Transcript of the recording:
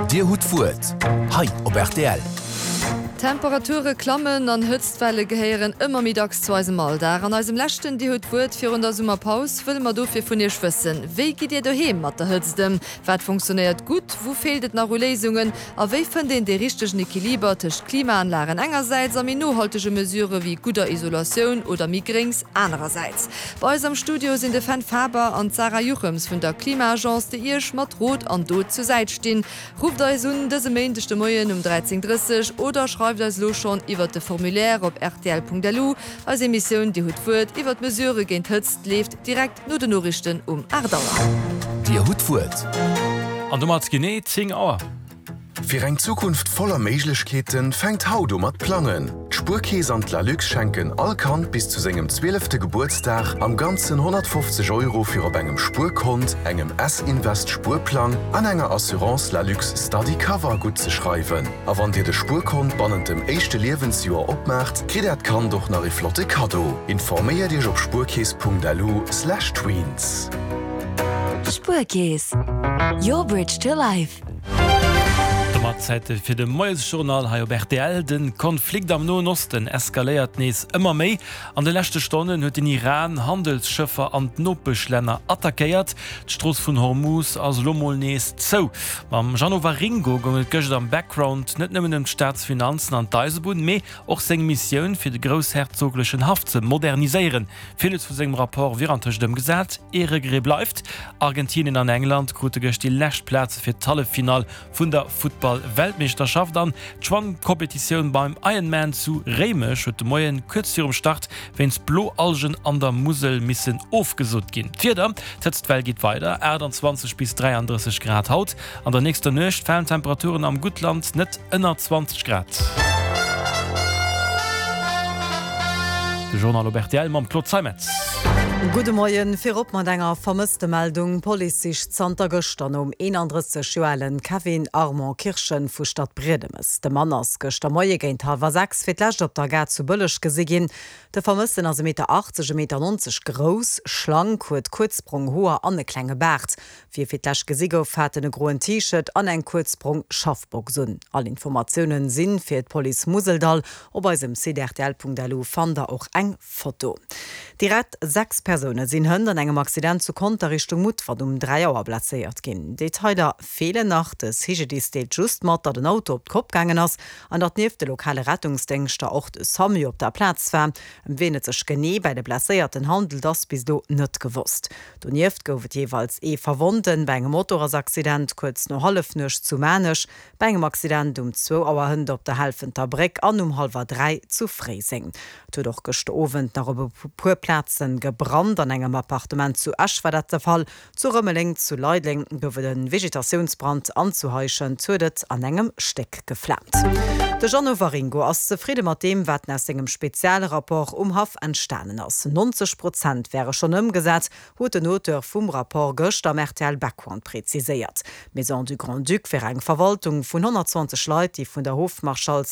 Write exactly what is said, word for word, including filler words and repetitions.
Dir hutt d'Wuert hei op rtl. Temperature klammen an Hëtztwelle gehéieren ëmmer méi dacks zu eisem Alldag. An eisem leschten Dir hutt d'Wuert virun der Summerpaus wëlle mer dofir vun Iech wëssen: Wéi gitt Dir doheem mat der Hëtzt ëm? Wat funktionéiert gutt? Wou feelt et nach u Léisungen? A wéi fënnt een dee richtegen Equiliber tëscht Klimaanlagen engersäits a méi nohaltege Mesurë wéi gudder Isolatioun oder méi Gréngs anerersäits? Bei eis am Studio sinn de Fenn Faber an d'Sarah Juchems vun der Klima-Agence, déi Iech mat Rot an Dot zur Säit stinn. Rufft eis un dëse Méindeg de Moien um dräizéng drësseg oder schreift eis elo schonn iwwert de Formulaire op rtl.lu. Eis Emissioun Dir hutt d'Wuert iwwert Mesurë géint Hëtzt leeft direkt no den Noriichten um aacht Auer. Dir hutt d'Wuert. An domat genee zéng Auer. Fir eng Zukunft voller Méiglechkeeten, fänkt haut u mat plangen! D'Spuerkeess an d'Lalux schenken all Kand bis zu sengem zwielefte Gebuertsdag am Ganzen honnertfofzeg Euro fir op engem Spuerkont, engem S-Invest Spuerplang an enger Assurance Lalux Study Cover guttzeschreiwen. A wann Dir de Spuerkont bannent dem éischte Liewensjoer opmaacht, kritt Äert Kand och nach ee flotte Kaddo. Informéiert Iech op spuerkeess.lu slash tweens. Spuerkeess, your bridge to life. Domat Zäit fir de Moiesjournal hei op rtl. De Konflikt am Noen Osten eskaléiert nees ëmmer méi. An de leschte Stonnen huet den Iran Handelsschëffer an d'Nopeschlänner attackéiert. D'Strooss vun Hormuz ass elo mol nees zou. Mam Jeannot Waringo goung et gëscht am Background net nëmmen ëm d'Staatsfinanzen an d'Eisebunn, mee och seng Missioun fir de groussherzoglechen Haff ze moderniséieren. Villes vu sengem Rapport wier antëscht ëmgesat. Ee Regret bleift, Argentinien an England krute gëscht déi lescht Plaze fir d'Halleffinall vun der Futtball-Weltmeeschterschaft an d'Schwammkompetitioun beim Ironman zu Réimech huet de Moien kuerz virum Start wéinst Bloalgen an der Musel missen ofgesot ginn. D'Wieder, D'Hëtztwell geet weider, aachtanzwanzeg bis dräiandrësseg Grad haut, an der nächster Nuecht falen d'Temperaturen am Guttland net ënner zwanzeg Grad. De Journal op rtl mam Claude Zeimetz. Gudde Moien. Virop mat enger Vermësstemeldung, D'Police sicht zanter gëschter nom eenandrësseg Joer alen Kevin Armand Kirchen vu Stadbriedemes. De Mann ass gëschter Moie géint hallwer sechs fir d'lescht op der Gare zu Bëlleg gesi ginn. De Vermëssten ass e Meter achtzeg, e Meter nonzeg grouss, schlank, huet kuerz brong Hoer an e klenge Baart. Wéi e fir d'lescht gesi gouf, hat en e groen T-Shirt an eng kuerz brong Schaffbox un. All Informatiounen si fir d'Police Museldall. Op eisem Site rtl.lu fannt der och eng Foto. Direkt sechs Persoune sinn hënt an engem Accident zu Conter Richtung Mutfert um dräi Auer blesséiert ginn. Detailer feelen nach, de C G D I S deelt just mat, datt en Auto op d'Kopp gaangen ass an datt nieft de lokale Rettungsdéngschter och de SAMU op der Plaz war. Ëm wien et sech genee bei de Blesséierten handelt, ass bis elo net gewosst. Donieft gouf et jeeweils ee Verwonnten bei engem Motorradsaccident kuerz no Hallefnuecht zu Maarnech, bei engem Accident um zwou Auer hënt op der Helfenter Bréck an um hallwer dräi zu Fréiseng. Et huet och gëschter Owend nach op e puer Plaze gebrannt. An engem Appartement zu Esch war dat de Fall, zu Rëmeleng, zu Leideleng gouf et e Vegetatiounsbrand an zu Heischent huet et an engem Stéck geflaamt. De Jeannot Waringo ass zefridde mat deem, wat aus sengem Spezialrapport um Haff entstanen ass. neunzeg Prozent wäre schonn ëmgesat, huet den Auteur vum Rapport gëschter am R T L Background präziséiert. D'Maison du Grand-Duc wär eng Verwaltung vun honnertzwanzeg Leit, déi vun der Hofmarschalls